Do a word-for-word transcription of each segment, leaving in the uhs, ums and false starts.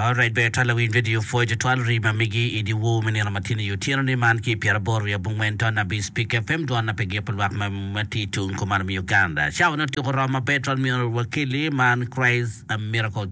Alright, ber twal lawiny radio pwoyo tutwal rii ma migi i dyewor me nino matino i otyeno ni man ki i pyeraboro wiye abongwen ton abic Peak FM dwon na pe giko lwak ma ma tye i tung kumalo me Uganda. Cawa ne otyeko romo maber twal myero wakeli man Christ Miracle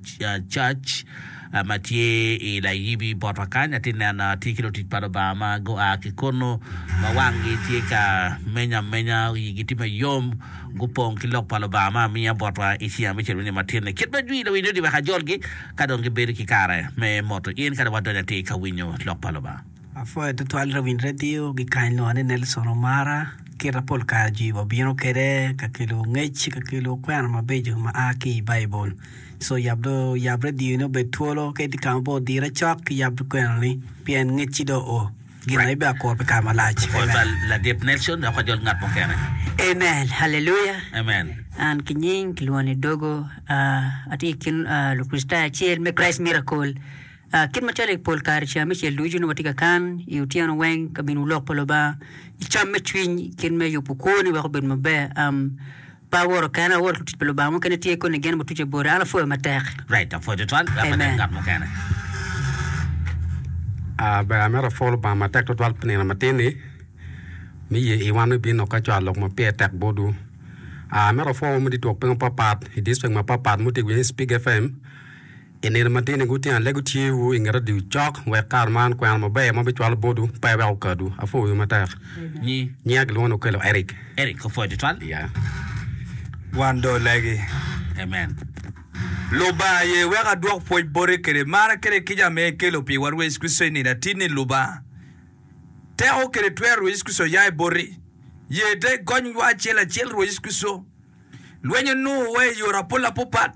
Church ma tye i Layibi botwa kany. Atye neno atye ki lutic pa Lubanga ma gua ki kunu ma wanggi tye ka menyo amenya, igi tye mayom, gupong ki lok pa Lubanga ma amiya botwa i ceng abicel me nino matin-ni. Kit ma jwi lawiny odi wek ajolgi ka dong gibedo ki kare me moto in ka dong wadonyo atir ka winyo lok pa Lubanga. Apwoyo tutwal rawiny radio ki kany lwongo ni Nelson Omara. Kita pol kare jwi wabino kwede ka kelo ngec ka kelo kwena mabeco ma a ki i Baibul. So yab do yab radio ni obed twolo ka itye ka ma pe odire cok ki yab kwena ni pien ngecci do oo gin ma ibe akuro pi kare malac. Pwoyo Amen. pa ladit Nelson dok wajol ngat mukene. Amen. Haleluya. Amen. An ki nying kilwongo ni Dogo. Ah, atye i kin ah, Lukricitayo acel me Christ Miracle. Ah, kit macalo i pol kare ceng abicel ducu nongo watye ka kan i otyeno weng ka bino lok pa Lubanga i cam me cwiny kit me yubo kwoni wek obed maber. Um, Pe aworo kena, aworo ki lutic pa Lubanga mukene tye koni gin butuce bote. An apwoyo matek. Right, apwoyo tutwal. Wek wanen Amen. ngat mukene. Ah, ber amito apwo Lubanga matek tutwal pi nino matin-ni me ye i wan me bino ka cwalo lok ma pire tek botwu. Ah, amito apwo wan ma twok piny mapapat i district mapapat ma wutye ka winyo ni Spik FM. I nino matini gutingo alego tyewu i nget radio cok wek kare man kwena maber ma bicwalo botwu pe wek okadwu. Apwoyo matek. Nyi. Nyinga kilwongo ni Okello Eric. Eric opwoyo tutwal. Yeah. Wan do olegi. Amen. Lubanga ye wek adwok pwoc boti kede mar kede kica ma ikelo piwa Rwot Yecu Kricito i nino atinni Lubanga. Teko kede twero Rwot Yecu Kricito oya i boti. Ye te igonywa acel acel Rwot Yecu Kricito. Lweny onongowa i yore apol apopat.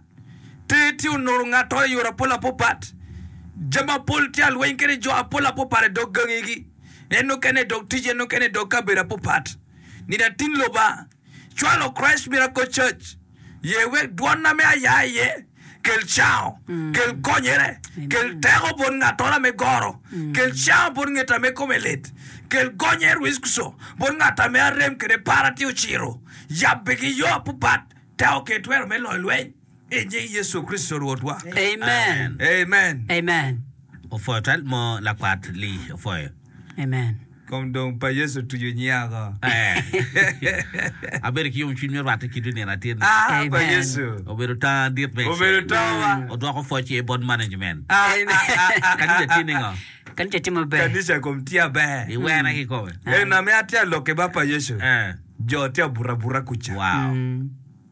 Ter tye onoro ngat-to i yore apol apopat. Jami apol tye alweny kede jo apol apopat i dog gangigi, en nokene i dog tic, en nokene i dog kabedo apopat. Nino atin Lubanga, cwalo Christ Miracle Church, ye wek dwonna me aya iye, kel cango, kel gonyere, kel teko bot ngat-tona me goro, kel cango bot ngeta me kome lit, kel gonyere Rwickuco bot ngat ame arem kede para tye ociro, yabbe ki yo apopat. Teko ki twero me loyo lweny i nying Yecu Kricito Rwotwa. Amen. Amen. Amen. Opwoyo twal mo lakwat Lee opwoyo. Amen. Kom dong pa Yecu otuco nyinga ko. Eh. Abedo ki yomcwiny me rwatte kidi nino atir ni. Ah, pa Amen. Yecu. Obedo tanga dit me Obedo tanga. Odwoko pwoc iye bot management. Ah, ah, ah, ah, Kanisa ah, tye ningo? Kanisa tye maber. Kanisa kom tye aber. Iwena kikome. En ame atye alokke ba pa Yecu. Eh. Jo tye abuto abuta kuca. Wow.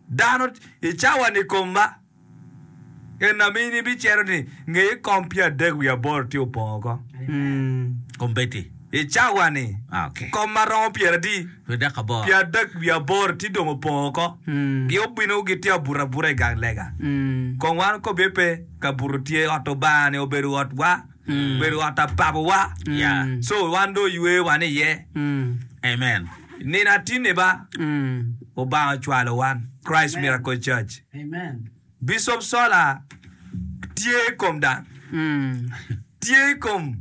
Dano i cawa-ni kom ma en ma in ibicito ni nge i kom pyeradek wiye aboro tye opongo oko. Kombeddi. I cawa-ni Ah, okay. kom ma romo pyeradi? Pyeradek aboro. Pyeradek wiye aboro tye dong opongo oko. Gin obino gitye abuto abuta i gang lega. Kong wan kobbe pe, kabuto tye, ot Lubanga-ni obedo otwa. Obedo ot apabowa. Yeah. So wan dong oywe wan iye. Amen. Nino atinni ba, Obanga ocwalo wan Christ Miracle Church. Amen. Bishop Sola tye i kom dang. Tye i kom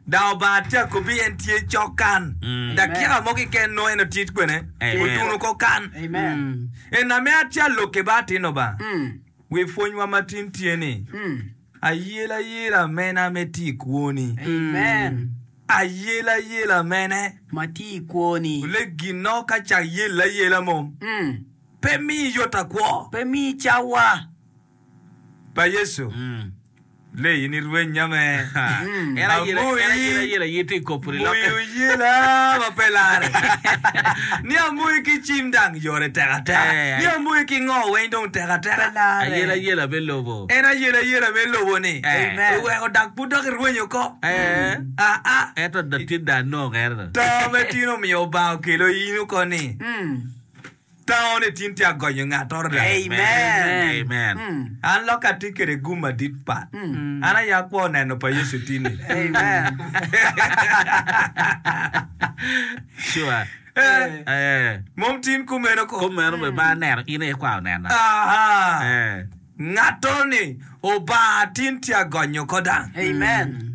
dang Obanga tye akobi en tye cok kan. Dakika mo keken nongo en otye kwene. Amen. Otuno ko kan. Amen. En ame atye alokke ba atinno ba. Wi pwonywa matin tye ni, Ayelayela mene me tye i kwoni? Amen. Ayelayela mene? Ma tye i kwoni. Ole ginno ka cak yelle ayela mo. Pe miyi yot akwo. Pe miyi cawa. Pa Yecu. Lee in irwenya me. En ayela en ayela ayela aye tye i koponi lokke. Amoyi oyela ma pe lare. Ni amoyi ki cim dang yore tek ateka. Eh, Ni amoyi ki ngo weng dong tek ateka. Pe lare. Ayela ayela me lobo. En ayela ayela me lobo ni. Amen. Oweko dak pud dok irwenyo ko. Eh. Aa. Ento latin dong anongo ento. To me tin omiyo Obanga okelo in oko ni. Tango ni tin tye agonyo ngat-toro dok. Amen. Amen. An loka atye kwede gum madit pat. An aye akwo neno pa Yecu tin-ni. Amen. Sure. Eh, Eh. mom tin kumeno ko. Kumeno bene ma aneno in aye ikwao nena. Aha. Eh. Ngat-toro ni Obanga tin tye agonyo ko dang. Amen.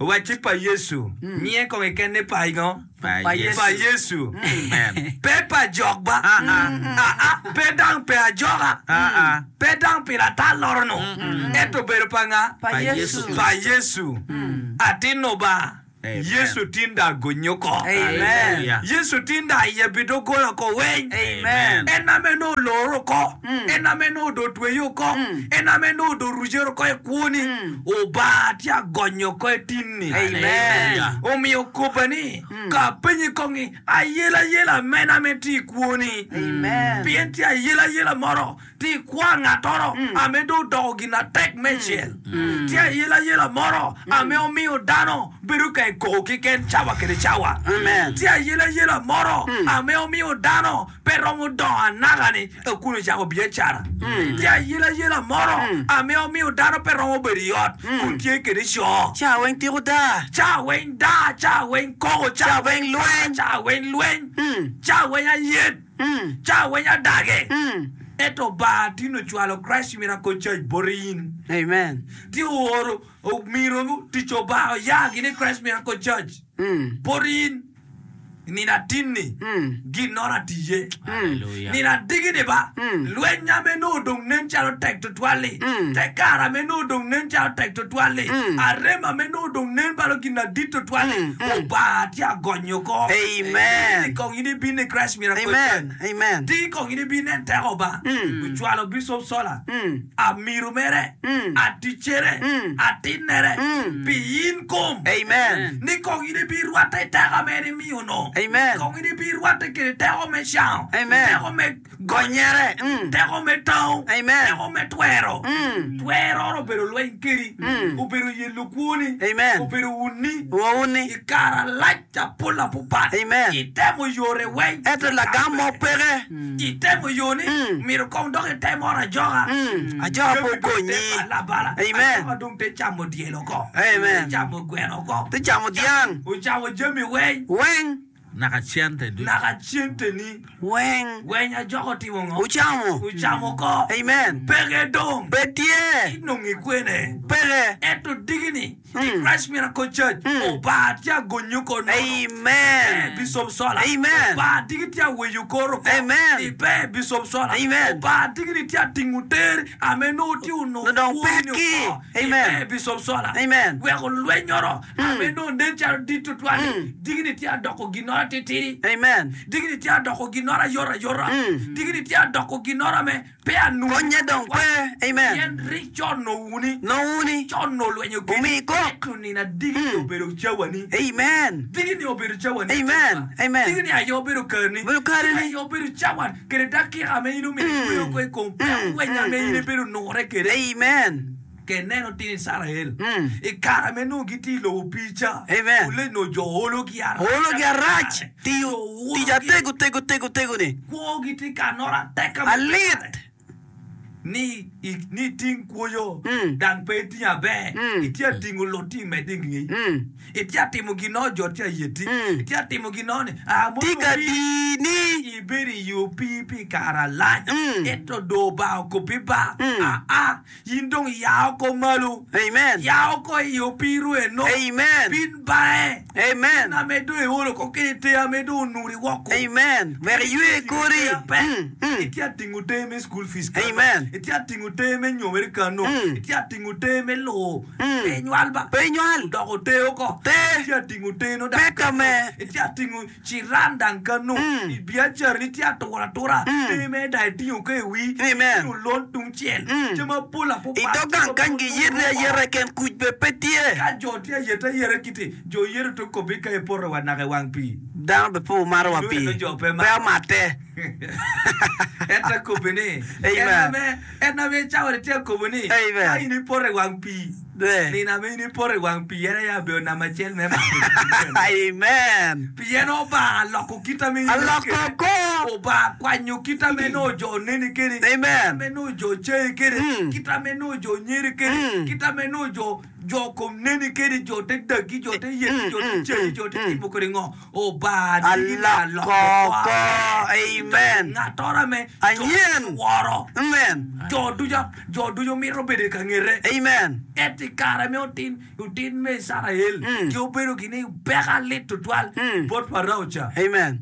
Wacci pa Yecu, nyinge kong keken ni pa ngo? Pa Pa Yecu. Amen. Pe pa jok ba. Ah, ah, pe dang pe ajoka. Ah, ah. Pe dang pi latal loro-nu. Ento obedo pa nga? Pa Pa Yecu. Yecu. Pa Yecu. Atin-nu ba. Amen. Yecu tinda agonyo ko. Amen. Hallelujah. Yecu tinda ayebi doggola ko weng. Amen. En ame nongo oloro oko, en ame nongo do otweyo oko, en ame nongo do orucere oko i kwoni, Obanga tye agonyo oko i tinni. Amen. Omiyo kobbe ni, ka apenyi kong ni, ayelayela mene ame tye i kwoni? Amen. Pien tye ayelayela moro, tye i kwo angattoro, ame dong odoko gin atek me cel. Tye ayelayela moro, ame omiyo dano bedo ka ikoko keken cawa kede cawa. Amen. Tye ayelayela moro, ame omiyo dano pe romo dongo anaka-ni kun ocako biacara. Tye ayelayela moro, ame omiyo dano pe romo bedo i ot kun tye kede co. Ca weng tiko da. Ca weng da, ca weng koko, ca Ca weng lweny. ca weng lweny, ca weng ayet, ca weng adage. Ento Obanga tin ocwalo Christ Miracle Church bote in. Amen. Ti ooro omiro tic Obanga oya gini Christ Miracle Church bote in. Nino atinni gin-noro atiye. Hallelujah. Nino adigini ba, lweny ame nongo dong nen calo tek tutwal-li, te kare ame nongo dong nen calo tek tutwal-li, arem ame nongo dong nen balo gin adit tutwal-li, Obanga tye agonyo oko. Amen. Ti kong in ibin i Christ Miracle Amen. Church. Amen. Ti kong in ibin nen teko Obanga. Ocwalo Bishop Sola, amiro mere, aticcere, atinnere, pi in kom. Amen. Ni kong in ibirwatte i teko ame en imiyo no. Amen. Kong in ibirwatte kede teko me cango, Amen. teko me gonyere, Mm. teko me tango, Amen. teko me twero. Mm. Twero obedo lweny kedi, obedo yelo kwoni, Amen. obedo wuni, Wawuni. i kare alac apol apupat, Amen. itemo yore weng, Ento lagam mo peke. itemo yoni, Mm. mito kong dok itemo ot ajoka. Mm. Ajoka pe okonyi. Bala, Amen. Ajoka dong te camo dyel oko. Amen. Te camo gweno oko. Te camo dyang. Ocamo jami weng. Weng. Naka cente ducu. Naka centeni. Weng. Weng ajoka otimo ngo? Ocamo. Ocamo oko. Amen. Peke dong. Pe tye. Inongo ikwene. Peke. Ento digini. I Mm. Christ Miracle Church. Obanga tye agonyo ko nono. Amen. Pe Bishop Sola. Amen. Obanga digi tye aweyo koro ko. Amen. Ipe Bishop Sola. Amen. Obanga digini tye atingo ter. Ame nongo tye onongo Nongo kwoni pekki. oko. Amen. Ipe Bishop Sola. Amen. Weko lwenyoro. Ame nongo nen calo dit tutwal. Digini tye adoko ginoro titidi. Amen. Digini tye adoko ginoro ayota ayota. Mm. Digini tye adoko ginoro ame pe anunu. Konye dong pe. Amen. Pien rik con nowuni. Nowuni. Con nolwenyo kedi. Omi kok. Ento nino adigini obedo cawani. Amen. Digini obedo cawani. Amen. Amen. Digini aye obedo kareni. Obedo kareni. Digini aye obedo cawan. Kede dakika ame in omyero ikweyo ko i kom peko weny ame in ibedo nure kede. Amen. Ke neno tin Israel. Mm. I kare ame nongo gitye i lobo pii ca. Amen. Ole nongo jo olo ki arac. Olo gi arac. Tiyo. Jo olo Tic gi- atego tego tego tego ni. Kwogi tye ka noro atek ame Alit. Ni i- ni iting kwoyo Mm. dang pe itingo aber Mm. itye atingo lot tye imedde i ngei Mm. itye atimo gino jo tye ayeti Mm. itye atimo gino ni ah, mono Tye ka pii- dini. ibedo i yo pii pi kare alac Mm. ento do ba okobi ba Mm. aa in dong ya oko malo Amen. ya oko i yo pii-ru eno Amen. bin bae Amen. ame dong iolo ko kede te ame dong onuri woko Amen. Wek iywe kori. Pe. Mm. Mm. Itye atingo te me school fees kano. Amen. Itye atingo te me nyomere kano. Mm. Itye atingo te me luo. Mm. Pe nywal ba. Pe nywal. Doko te oko. Te. Itye atingo te no dang Peka kano. me. Itye atingo ciran dang kano. Mm. I biacara ni itye atura atura. Mm. Te me da itingo ke i wi. Amen. Itingo lon tung cel. Mm. Jami mapol apupat. I dog gang kany giyete ayeta ken kuc be pe tye. Ka jo tye ayete ayeta kiti. Jo yero to kobi ka ipoto wa naka i wang pii. Dano be pe omaro wa pii. Jo pe Pe maro. omate. Ento kobi ni. Amen. En ame, en ame cawa tye kobo ni. Amen. Ka in ipoto i wang pii. Eh. Nino ame in ipoto i wang pii en aye abedo namba acel me mako pii. Amen. Pien Obanga aloko kit ame in ineno Aloko kede. ko. Obanga kwanyo kit ame nongo jo oneni kede. Amen. Kit ame nongo jo cei kede. Mm. Kit ame nongo jo nyeri kede. Mm. Kit ame nongo jo jo kom neni kede, jo te dagi, jo te yeti, Mm, jo te mm, cei, mm, jo te mm. timo kede ngo. Obanga digi Aloko aloko ko. Amen. Ng'atoro ame jo Anyen. woro. Amen. Jo ducu jo ducu mito bedo i ka ngete. Amen. Ento Ento i kare me otin, otin me Icrael Mm. gi obedo gini peko alit tutwal Mm. bot Parao ca. Amen.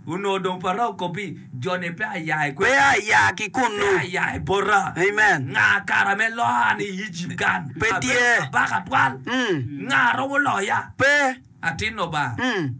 Onongo dong Parao kobi, Jo-ni pe aya i Pe kwena, aya ki pe kunnu. aya i bota. Amen. Nga kara me loa an i Ejipt kan? Pe Abedo tye. kabaka twal. Mm. Nga romo loya? Pe. Atin Lubanga. Mm.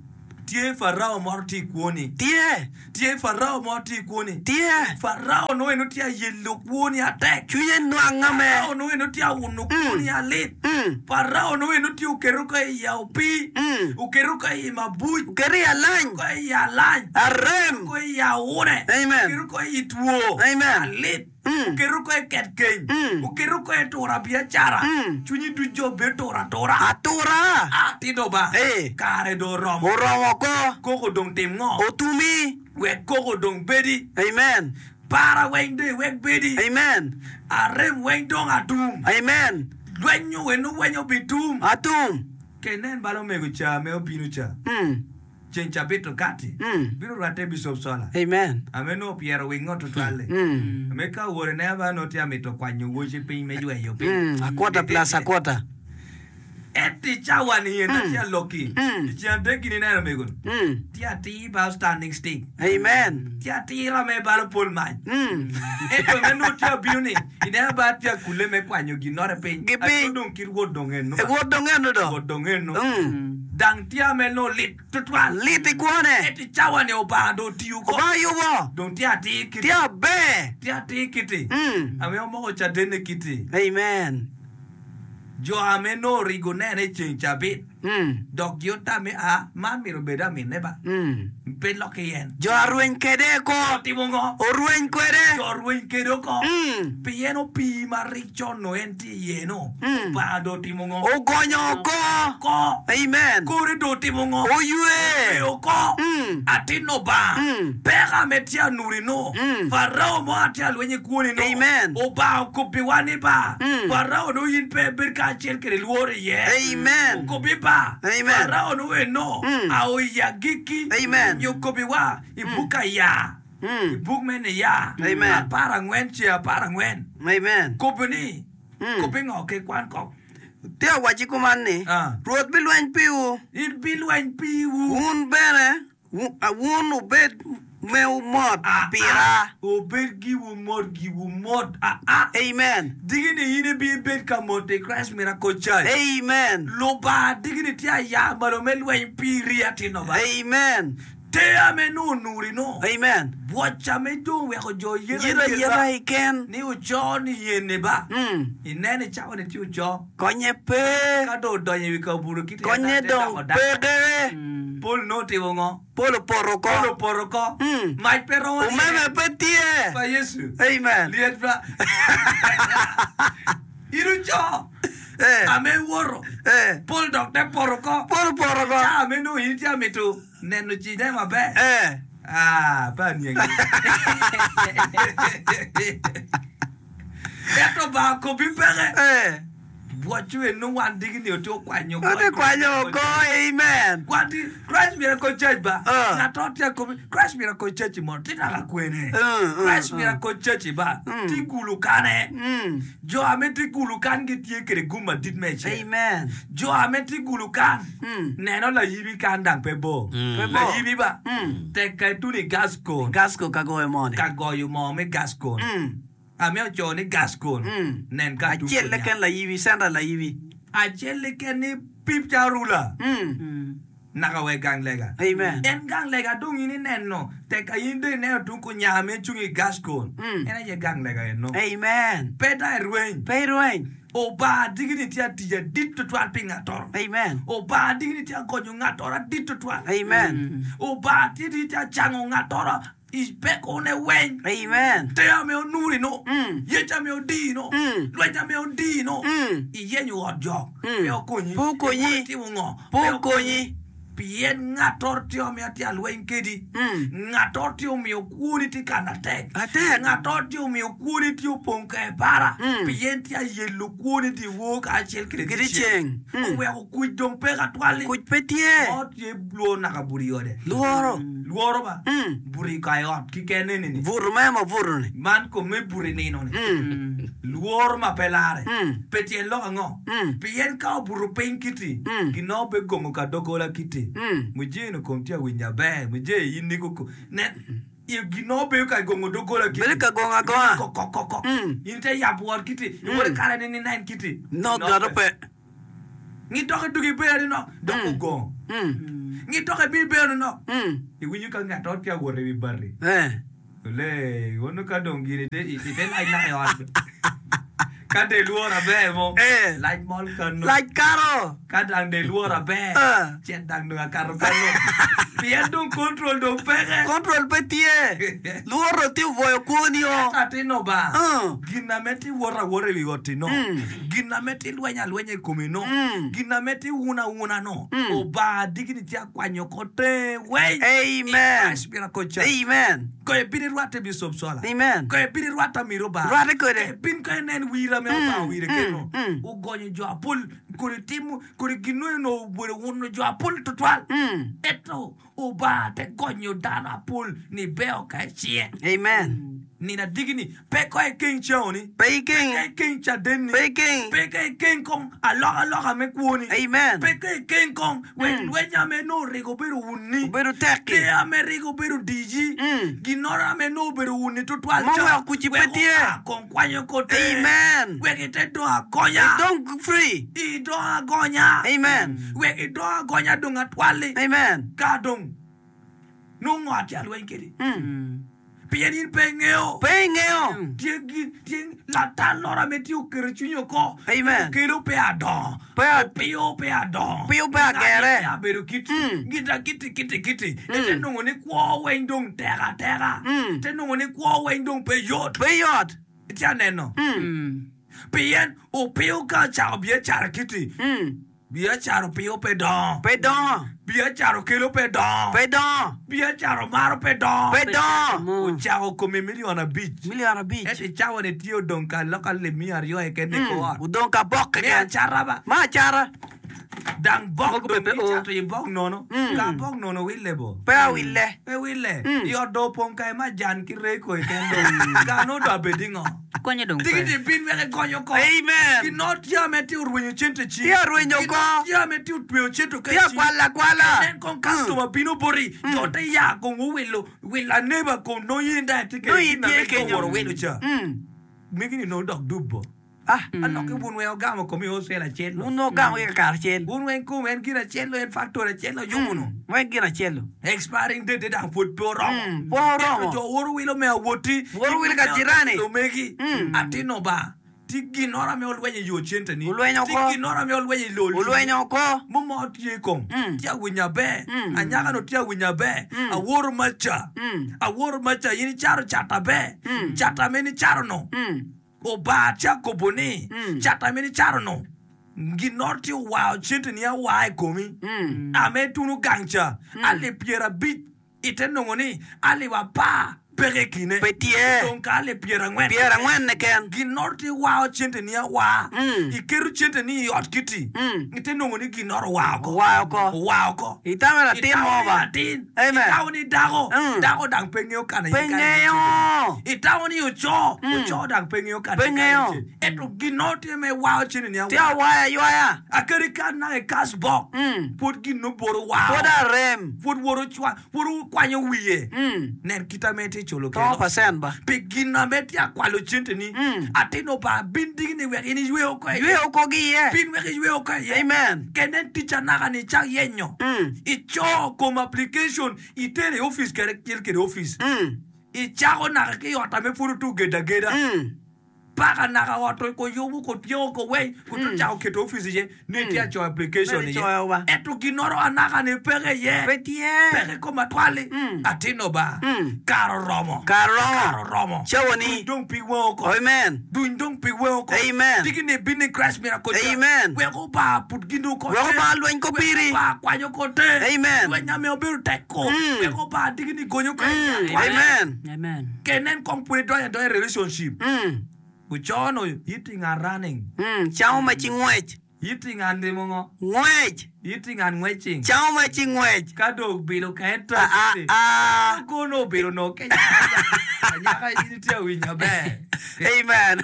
Tye Farao moro tye i kwoni. Tye. Tye Farao moro tye i kwoni. Tye. Farao nongo eno tye ayelo kwoni atek. Cwinye nwanga me. Farao nongo eno tye awuno kwoni alit. Mm. Farao nongo eno tye oketo ka i opii. Mm. Oketo ka i mabuc. Oketo i alany. Ka i alany. Arem. Ka i awune. Amen. Oketo ka i two. Amen. Alit. Mm. Oketo ka i ket keny. Mm. Oketo ka i tura biacara. Mm. Cwinyi ducu jo bedo tura atura. Atura. Ah, tito ba. Eh. Kare dong oromo. Oromo ko. Koko dong tim ngo? Otumi. Wek koko dong bedi. Amen. Para weng dong iwek bedi. Amen. Arem weng dong atum. Amen. Lwenyo weno wenyo bitum. Atum. Ke nen balo omego ca me obino ca. Mm. Ceng cabit okati. Mm. Bino rwatte Bishop Sola. Amen. Ame nongo pyero wingo tutwalle. Mm. Ame ka owore ne aba nongo tye amito kwanyo woci piny me yweyo piny. Mm. A quarter plus a quarter. Ento i cawa ni en atye aloki. Mm. I ceng adek gin ineno omego ni. Mm. Tye atir ba standing stick. Amen. Tye atira me balo pol mac. Mm. Ento me nongo tye abino ni ineno ba tye akule me kwanyo ginore piny. Gi piny. Ato dong kit wot dong eno. E wot dong eno do. Wot dong eno. Mm. Dang tye ame nongo lit tutwal. Lit i kwone. Ento i cawa ni Obanga dong otiyo ko. Obanga yubo. Dong tye atir kiti. Tye aber. Tye atir kiti. Mm. Ame omoko cadenne kiti. Amen. Jo ame nongo origo nene i ceng cabit. Mm. Dok gi otame a man myero obed aminne ba. Mm. Pe loki yen. Jo arweny kede ko. Otimo ngo? Orweny kwede. Jo orweny kede oko. Mm. Pien opii ma rik con no en tye iye no. Mm. Obanga dong otimo ngo? Ogonyo oko. Oko. Amen. Kore dong otimo ngo? Oywe. Oywe oko. Mm. Atin Obanga. Mm. Peka me tye anuri no. Mm. Farao mo atye alweny i kwoni no. Amen. Obanga okobi wa ni ba. Mm. Farao no in pe bed kacel kede lworo iye. Amen. Okobi ba. Amen. Farao no eno. Mm. Ao i agikki. Amen. Nyo okobi wa i buk aya. I Mm. buk me niya. Amen. Apar angwen ce apar angwen. Amen. Kobi ni. Mm. Kobi ngo ke kwan kok. Tye awaci kuman ni. Ah. Rwot bilweny piwu. In bilweny piwu. Wun bene. wu- a- Wun obed mewu mot Ah, pira. ah. Obed giwu mot giwu mot. Ah, ah. Amen. Digini in ibi bed ka mot i Christ Miracle Church. Amen. Lubanga digini tye aya malo me lweny piri atino ba. Amen. Te ame no onuri no. Amen. Bwoca me dong weko jo yeta Yeta yeta iken. Ni oco ni yene ba. Mm. Inene cawa ni tye oco. Konye pe. Ka dong odonyo i wi kabuto kite Konye ata te dong doko dako. peke. Pol no otimo ngo? Pol opoto Pol oko. opoto oko. Mm. Mac pe romo Umeme pe tye. Pa Yecu. Amen. Lyet ba. In oco. Eh. Ame woto. Eh. Pol dok te poto oko. Pol opoto oko. Ca ame nongo in tye amito neno cine maber. Eh. Ah, pe aniangi. Ento ba kobi peke. Eh. Bwocu eno wan digini ote okwanyo Ote kwanyo oko. Amen. Wan di Christ Miracle Church ba. Ah. Ngato tye kobi Christ Miracle Church mo tye naka kwene. Mm, mm, Christ mm. Miracle Church ba. Mm. Tye kulu kane. Mm. Jo ame tye kulu kan gitye kede gum madit me ecel. Amen. Jo ame tye kulu kan. Mm. Neno layibi kan dang pe bor. Mm. Pe bor. Layibi ba. Mm. Tek ka ituni Gascon. Gasco ka goyo moni. Ka goyo moo me Gascon. Mm. Ame oco ni Gascon. Mm. Nen ka tung Acel kunya. leken layibi, center layibi. Acel leken ni pip ca rula. Mm. Naka we gang lega. Amen. En gang lega dong in ineno. Tek ka in dong ineno tung kunya me cung i Gascon. Mm. En aye gang lega eno. Amen. Pe da irweny. Pe irweny. Obanga digini tye atic adit tutwal pi ngatoro. Amen. Obanga digini tye agonyo ngatoro adit tutwal. Amen. Obanga tye tye acango ngatoro i pekone weny. Amen. Te ame onuri no. Mm. Yec ame odii no. Mm. Lweny ame odii no. Mm. Iyenyo ot jok. Mm. Pe okonyi. Pe okonyi. Itimo ngo? Pe okonyi. Pien ngatoro tye omiyo tye alweny kedi. Mm. Ngatoro tye omiyo kwoni tye kana tek. Atek. Ngatoro tye omiyo kwoni tye opong ka i bara. Mm. Pien tye ayelo kwoni tye woo kacel kede Kede ceng. Mm. Oweko kuc dong peke atwal-li. Kuc pe tye. Mo tye lworo naka buto i ode. Lworo. Lworo ba. Mm. Buto i ka i ot keken eni-ni. Buto me ma buto ni. Man kom me buto i nino ni. Mm. Lworo ma pe lare. Mm. Pe tyen lok ango? Mm. Pien ka obuto piny kiti, Mm. gin pe gongo ka doggola kiti. Mm. Mujee-ni kom tye awinyo aber, mujee in niko ko. Nen, i- gin bedo ka gongo doggola kiti. Bedo ka gongo agonga. Kok, kok, kok, kok. Mm. In te yabo ot kiti, iwot i kare ni ninen kiti. No Gin gato pe. Ngi dok idug ibedo ni nok, dok ogongo. Mm. Ngi dok ibi ibedo ni nok. Mm. Iwinyo ka ngat ot tye awot i wi bati. Eh. Ole, wono ka dong gini ite ite lac naka i ot. Ka de lworo aber mo, Eh. lac mol kano. Lac karo. Ka dang de lworo aber, Eh. cet dang dong akato kano. Pien dong control dong peke. Control pe tye. Lworo tye obwoyo kwoni o. Atino ba, Mm. gin ame ti wot awota i wi ot-ti no, Mm. gin ame ti lweny alwenya i komi no, Mm. gin ame ti wun awuna no, Mm. Obanga digini tye akwanyo ko te weny. Amen. Christ miracle church. Amen. Ko ibin irwatte Bishop Sola. Amen. Ko ibin irwatte Amiro Bar. Rwatte kwede. Ko ibin ka inen wira me Obanga wire keno. mm. Ogonyo jo apol kodi timo kodi gin no obedo wuno jo apol tutwal. Mm. Ento Obanga te gonyo dano apol ni beo ka icie. Amen. Nina digini pe ko ikeng ceoni. Pe iking. Pe ikeng cadenni. Pe iking. Pe ka ikeng kong alokaloka me kwoni. Amen. Pe ka ikeng kong wek lweny ame no rigo bedo wunni. Obedo tekki. Te ame rigo bedo diji. Mm. Ginoro ame no obedo wunni tutwal Mo ca. weko kuci pe Wek tye. oa kong kwanyo ko te. Amen. Wek ite dong agonya. Dong free. I dong agonya. Amen. Wek i dong agonya dong atwalli. Amen. Ka dong nongo atye alweny kedi. Mm. Pien in pe ingeo. Pe ingeo. Tye gi- tye latal loro ame tye oketo cwinyi oko. Amen. Okelo pe adongo. Pe a- Opiyo pe adongo. Opiyo pe agere. Pe abedo kiti. Mm. Gita kiti kiti kiti. Ite nongo ni kwo weny dong tek ateka. Mm. Ite nongo ni kwo weny dong pe yot. Pe yot. Itye aneno. Mm. Pien opiyo ka ocako biacara kiti. Mm. Biacara opiyo pe dongo. Pe dongo. Biacara okelo pe dongo. Pe dongo. Biacara omaro pe dongo. Pe dongo. Ocako kome milion abic. Milion abic. Ento i cawa-ni tye odong ka loka lim miya aryo keken i Mm. kor ot. Odong ka bok Me keken. acara ba. Ma acara. Dang bok Mogo be dong pe o. icato i bok nono. Mm. Ka bok nono wille bo. Pe awille. Pe wille. Mm. I ot dong opong ka ma jan ki reko keken dong. Ka nongo dong abed ingo. Konye dong pe. Digiti bin wek igonyo ko. Amen. Gino tye ame tye orwenyo cente ci. Tye orwenyo Gino ko. tye ame tye otweyo cente ka Tye ci. akwalo akwala. Nen kong customer bino boti. Jo te ya kong owilo. Wilo aneba kong nongo in dong itye Nongo kede in gin ame tye kenyo. oworo wilo ca. Mm. Migi ni nongo dok dubbo. Ah. Aloki wun weng ogamo komi wholesale acel. Wun ogamo ki kakare acel. Wun weng kom en gin acel en factory acel oyubo no. Weng gin acel. Expiring date dang pud pe oromo. Mm, pe oromo. Ento jo woro wilo me awoti. Woro wilo ka jirani. Omegi. Mm. Atino ba. Ti ginoro ame olwenyo i yo cente ni. Olwenyo Ti oko. ginoro ame olwenyo i lo. Olwenyo oko. Mumo tye kong. Mm. Tye awinyo aber. Mm. Anyaka no tye awinyo aber. Mm. Aworo maca. Mm. Aworo maca in icaro cat aber. Mm. Cat ame ni caro no. Mm. Obar tye akobo ni. Mm. Cat ame ni caro no. Ginoro tye owao cente ni awa i komi. Mm. Ame tunu gang ca. Alip pyerabic ite nongo ni alip apar peke i kine. Pe tye. Dong ka alip pyerangwen. Pyerangwen keken. Ginoro tye wao cente ni awa. Mm. Iketo cente ni i ot kiti. Mm. Ite nongo ni ginoro owao oko. Owao oko. Owao oko. Itamo latin Itamo mo ni ba. latin. Amen. Itamo ni dako. Mm. Dako dang pe ngeo kana Pe i kare ngeo. Itamo ni oco. Oco dang pe ngeo kana Pe i kare ngeo. ce. Ento ginoro tye me wao cente ni Tye awa. awaya aywaya. Akadi ka naka i cash box. Mm. Pwod gin noboro wao. Pwod arem. Pwod woro cwa. Pwod okwanyo wiye. Mm. Nen kita me tye culo To keno. percent ba. Pi gin ame tye akwalo cente ni. Mm. Atino ba bin digi ni wek in iywe oko iye. Ywe oko gi iye. Bin wek iywe oko iye. Amen. Kenen tic anaka ni icak yenyo. Mm. Ico kom application itere i office kede cel kede office. Mm. Icako naka ki i ot ame pwod otu gedo ageda. Mm. Paka naka ot koyubo kotyeko koweny koto cako keto office iye ni tye acoyo application Ne iye. icoyo ba. Ento ginoro anaka ni peke iye. Pe tye. Peke kom atwali. Mm. Atino ba. Mm. Kare oromo. Kare oromo. Kare oromo. Cawa ni. Duny dong pig weng oko. Amen. Duny dong pig weng oko. Amen. Tiki ni bin ni Christ miracle. Church. Amen. Wek oba put gin oko. Wek oba lweny ko piri. Wek oba kwanyo ko te. Amen. Lweny ame obedo tek ko. Mm. Wek oba tiki ni gonyo ko. Mm. Amen. Amen. Kenen kong pud idonyo adonya i relationship. Mm. Ucono eating and running. Mm. Camo ma ci ngwec. Yiti ngan timo ngo? Ngwec. Yiti ngan ngwecing. Camo ma ci ngwec. Ka dong obilo ka en Ah, ah, tacci. ah. Kono obilo no kenya kenya. Anyaka in itye awinyo maber. Amen.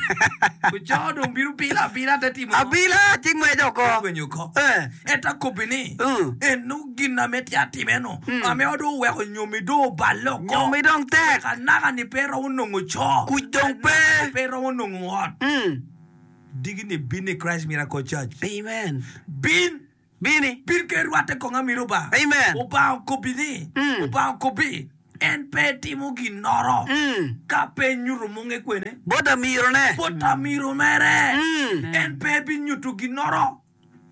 Oco dong bino bilo abila te timo ngo? Abila ci ngwec oko. Ngwenyo oko. Eh. Ento akobbi ni, Mm. eno gin ame tye atime no, ame dong oweko nyomi dong oballe oko. Nyomi dong tek. Anaka-ni pe romo nongo co. Kuc dong pe. Anaka-ni pe romo nongo ot. Mm. Digi-ni bin i Christ Miracle Church. Amen. Bin! Bini. Bin ke rwatte kong amiro Obanga. Amen. Obanga okobbi ni, Mm. Obanga okobbi, en pe timo ginnoro Mm. ka pe nyuto munge kwene. Bot amirone. Bot amiro mere. Mm. En pe binyuto ginnoro.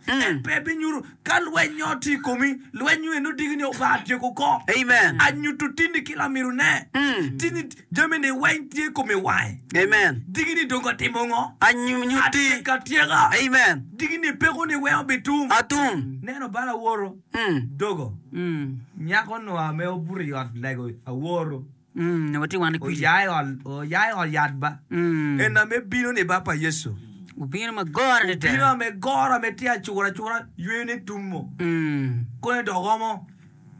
En Mm. pe binyuto. Ka lweny nyo tye i komi, lweny eno digi ni Obanga tyeko ko. Amen. Anyuto tini ki lamirone. Mm. Tini jami-ni weng tye i kome wange. Amen. Digi ni dong atimo ngo? Anyuti. Atyeko atyeka. Amen. Digi ni peko ni weng obitum. Atum. Neno bala aworo. Mm. Dogo. Mm. Nyako no ame obuto i ot lego aworo. Mm. Watye wan kwija. Oya i ot oya i ot yat ba. Mm. En ame bino ni ba pa Yecu. Obino ma goro adada. Bino ame goro ame tye acura acura ywene ni tumo. Mm. Kone dok omo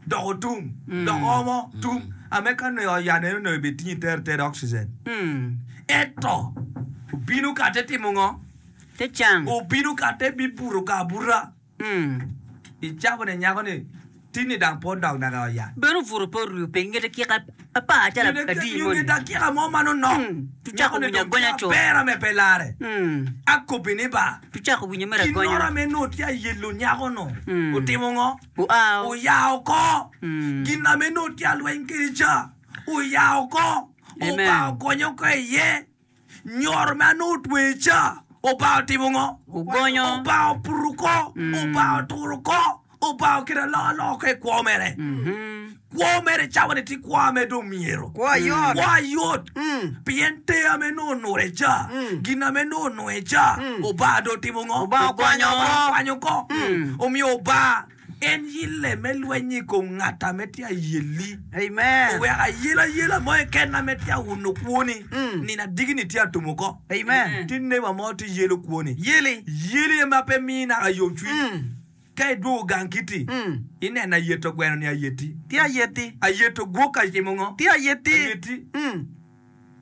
dok otum dok omo tum ame ka nongo i ot yat eno nongo ibitingi tere tere oxygen. Mm. Ento obino ka te timo ngo? Te cang. Obino ka te bibuto ka abuta. Mm. Icabo ni nyako ni tini dang po dok naka i ot yat. Bene obuto pe oruyo piny ngete kika apar calo adi Nyo moni. dakika mo man onok. Mm. Tucako Nyako ni winyo dong agonya tye co. aber ame pe lare. Mm. Akobbi ni ba. Tucako winyo mere Ginoro agonya. ame nongo tye ayelo nyako no. Mm. Otimo ngo? Oa. Oya oko. Mm. Gin ame nongo tye alweny kede ca. Oya oko. Amen. Oba ogonyo oko iye. Nyoro ma nongo otwe ca. Oba otimo ngo? Ogonyo. Oba oputo oko. Mm. Oba oturo oko. Oba okelo alokaloka oko i kwo mere. Mhm. Kwo mere cawa ni tye kwo ame dong myero. Kwo ayot. Kwo ayot. Mm. Pien te ame nongo onure ca. Mm. Gin ame nongo onure ca. Mm. Oba dong otimo ngo? Oba okwanyo oko. Okwanyo oko. Mm. Omiyo oba en yille me lweny i kom ngat ame tye ayelli. Amen. Oweko ayela ayela mo keken ame tye awuno kwoni. Mm. Nino adigi-ni tye atumo oko. Amen. Tye neba mo tye yelo kwoni. Yeli. Yeli ma pe mii naka yomcwiny. Mm. Ka idwogo gang kiti, Mm. ineno ayeto gweno ni ayeti. Tye ayeti. Ayeto gwok atimo ngo? Tye ayeti. Ayeti. Mm.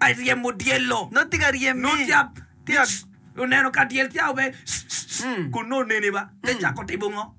Aryemo dyelo. Nongo tye ka ryemi. Nongo tye a- Tye a- oneno ka dyel tye abe Mm. kun nongo oneni ba te cako timo ngo?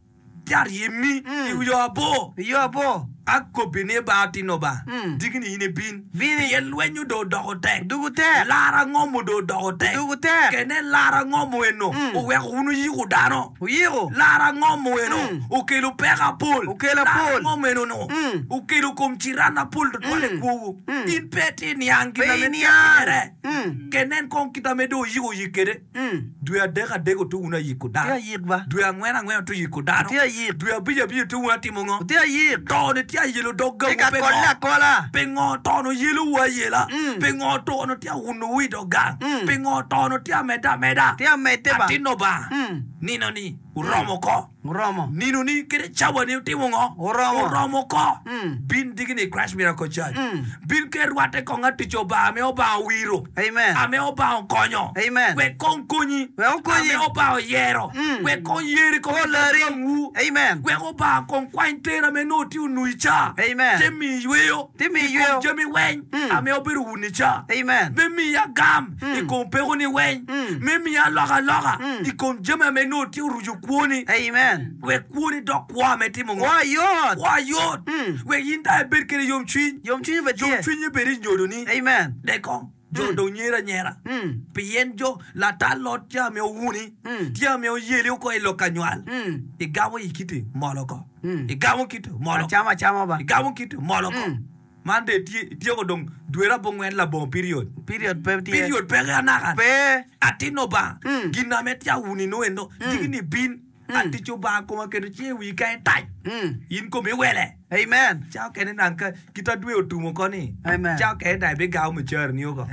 Tye aryemi Mm. i yo abor. I yo abor. Akobbi ni ba atino ba. Mm. Digi ni in ibin. Bini. Pien lweny dong odoko tek. Dugu tek. Lara ngomo dong odoko tek. Dugu tek. Kene lara ngomo eno Mm. oweko wun oyiko dano. Oyiko. Lara ngomo eno Mm. okelo peko apol. Okelo Lara apol. ngomo eno no Mm. okelo kom ciran apol tutwal i Mm. kwowu. Mm. In pe tye niang gin Pe ame tye iniang. atimere. Mm. Kenen kong kit ame dong oyiko oyik kede. Mm. Dwe adek adek otu wun ayiko Tye dano. ayik ba. Dwe angwen angwen otu yiko dano. Tye ayik. Dwe abic abic otu wun atimo ngo? Tye ayik. To ni tye ayelo dog Tye gawu ka pe kolle ngo? akola. Pingo tono yelowu ayela? Mm. Pingo tono tye awunowu i dog gang? Mm. Pingo tono tye amedde ameda? Tye amedde ba. Atino ba. Mm. Nino ni oromo ko. Oromo. Nino ni kede cawa ni otimo ngo? Oromo. Oromo ko. Mm. Bin digi ni Christ Miracle Church. Mm. Bin ke rwatte kong atic Obanga ame Obanga owiro. Amen. Ame Obanga okonyo. Amen. Wek kong konyi. Wek okonyi. Ame Obanga oyero. Mm. Wek kong yeri kong Olari. gangwu. Amen. Wek Obanga kong kwany tera ame nongo tye onui ca. Amen. Te miyi yweyo. Te miyi I kom yweyo. jami weny. Mm. Ame obedo wuni ca. Amen. Me miyi agam Mm. i kom peko ni weny. Mm. Me miyi alokaloka Mm. i kom jami ame nongo tye oruco kwoni. Amen. Wek kwoni dok kwo ame timo ngo? Kwo ayot. Kwo ayot. Mm. Wek in dong ibed kede yomcwiny. Yomcwiny bene tye. Yomcwiny bed i nyodoni. Amen. Dek kong jo Mm. dong nyero anyera. Mm. Pien jo latal lot tye ame owuni. Mm. Tye ame oyeli oko i lok anywal. Mm. Igamo i kiti molo oko. Mm. Igamo kiti molo oko. Acama acama ba. Igamo kiti molo oko. Mm. Man de tye ityeko dong dwere abongwen labongo period. Period pe tye. Period peke anaka. Pe. Atin Obanga. Mm. Gin ame tye awuni no eno. Digi ni bin. Mm. Atic Obanga koma keto cinge i wii ka itac. Mm. In komi iwele. Amen. Ca okene nang ka kita dwe otumo ko ni. Amen. Ca okene dang ibigamo mucara ni oko.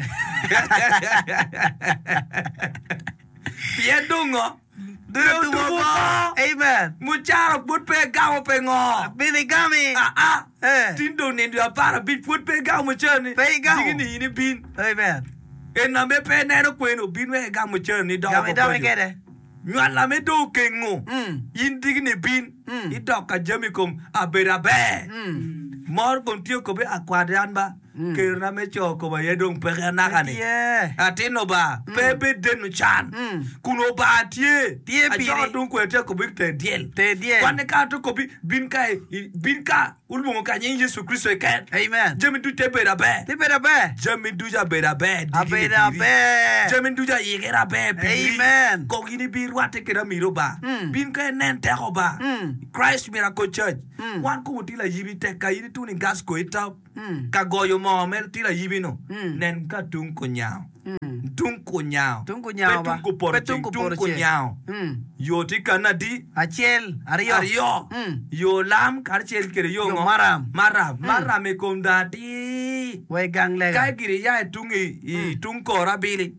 Pien dong ngo? Dwe otumo oko. Amen. Mucara pud pe igamo pe ngo? Bini gami. Ah ah. Eh. Tin dong nindo apar abic pud pe igamo mucara ni. Pe igamo. Digi ni in ibin. Amen. En ame pe ineno kweno bin wek igam mucara ni doko Gami oko domi paco. kede. Nywal ame dong okengo. In digi-ni bin, idok ka jami kom abedo aber. Mor kom tye okobe akwat an ba, kerona me co kom aye dong peke anaka-ni. Atinno ba, pe ibed deno can, kun Obanga tye. Acoko tung kwede tye akobi ter dyel. Kwanne ka ato kobi, bin ka, bin ka olwongo ka nying Yecu Kricito keken. Jami ducu te bedo aber. Jami ducu abedo aber digi-ni piri. Jami ducu ayikere aber piri. Kong in ibirwatte kede amiro ba. Bin ka inen teko ba. Christ Miracle Church. Wan kong watye layibi tek ka in ituno i gas kor itop ka goyo moo mere tye layibi no nen ka tung kunyango tung kunyango pe tung kupoto ceng tung kunyango yo tye kane adi Acel, aryo. aryo yo lam karacel kede yo Yo ngo maram. maram maram i kom dong atir Wa i gang lega. ka gire ya i tung i i tung kor abili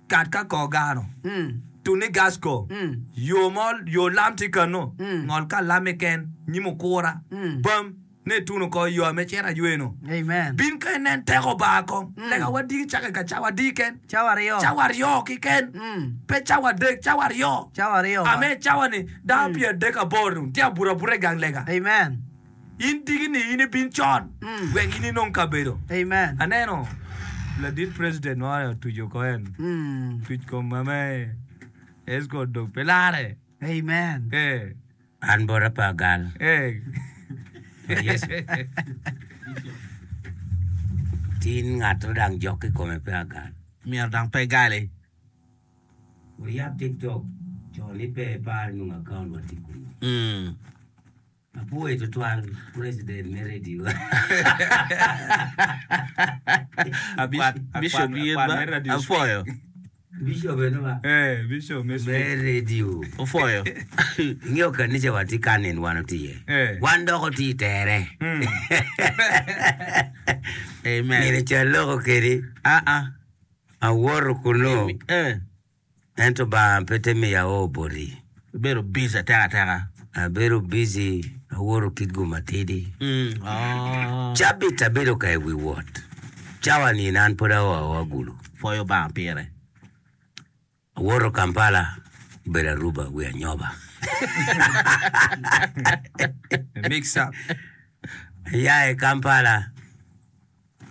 kat ka kor gano Tun i Gasco, yo mo, yo lam tye kano, ngol ka lam keken, nyim okura, bam, ne ituno oko i yo ame cito aywe-nu. Amen. Bin ka inen teko Obanga kong. Lega wa diki cake ka cawa adi keken? Cawa aryo. Cawa aryo keken. Pe cawa adek, cawa aryo. Cawa aryo ba. Ame cawa-ni, dano pyeradek aboro tye abuto abuta i gang lega. Amen. In diki-ni in ibin con, wek in inong kabedo. Amen. Aneno ladit president mo otuco oko en tuc kom ame escort dong pe lare. Amen. Eh. An bota pe agal. Eh. Yecu. Tin ngat odang jok i kome pe agal. Myero dong pe igali. Wuyab TikTok co ni pe ipar nongo account wa tye kunu. Mm. Apwoyo tutwal president me radio. Bishop yen ba apwoyo. Bishop eno ba. Eh, Bishop me Me radio. Opwoyo. Ingeyo kanisa wa tye kan en wan otye iye. Eh. Wan dok otye i tere. Amen. Nino ca aloko kedi. Ah ah. Awoto kunu. Eh. Ento Lubanga pe te miyo ao boti. Ibedo busy atek ateka. Abedo busy awoto kit gum matidi. Cabit abedo ka i wi wot. Cawa ni an pud ao aoa Gulu. Pwoyo Lubanga pire. Awoto Kampala, obedo Aruba wi anyoba. Mix up. Aya i Kampala,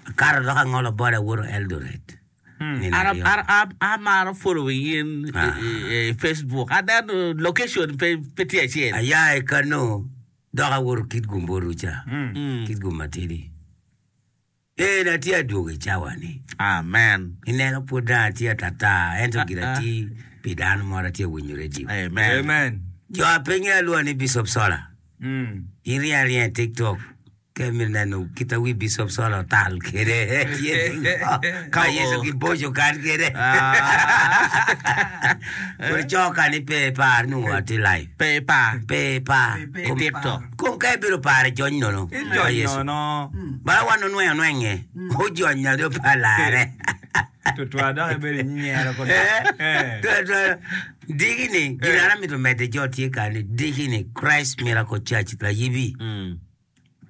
akato dok angolo boda awoto Eldoret. Nino aryo. Amaro following in i Facebook. Aneno location pe tye acel. Aya i kano dok awoto Kitgum bot Ruca, Kitgum matidi. En atye adwogo i cawa ni. Amen. Ineno pud dong atye atata ento gin ati pi dano moro atye winyo radio. Amen. Amen. Jo a pe ngeyo alwonga ni Bishop Sola. In ryeny aryenya i TikTok. Ka imito neno kit ma wi Bicop Sola otal kwede, tye ningo? Ka Yecu giboco kan kwede. Kodi co ka ni pe ipar nongo atye live. Pe ipar. Pe ipar. I TikTok. Kom ka ibedo paro ijony nono. Pa Ijony Yecu. nono. Bala wan onwengo onwenge. Ojony do pa larre. Tutwal dok ibedo inyero kodi. Eh, tutwal. Diki-ni, gin an amito medde jo tye kani, diki-ni Christ Miracle Church layibi.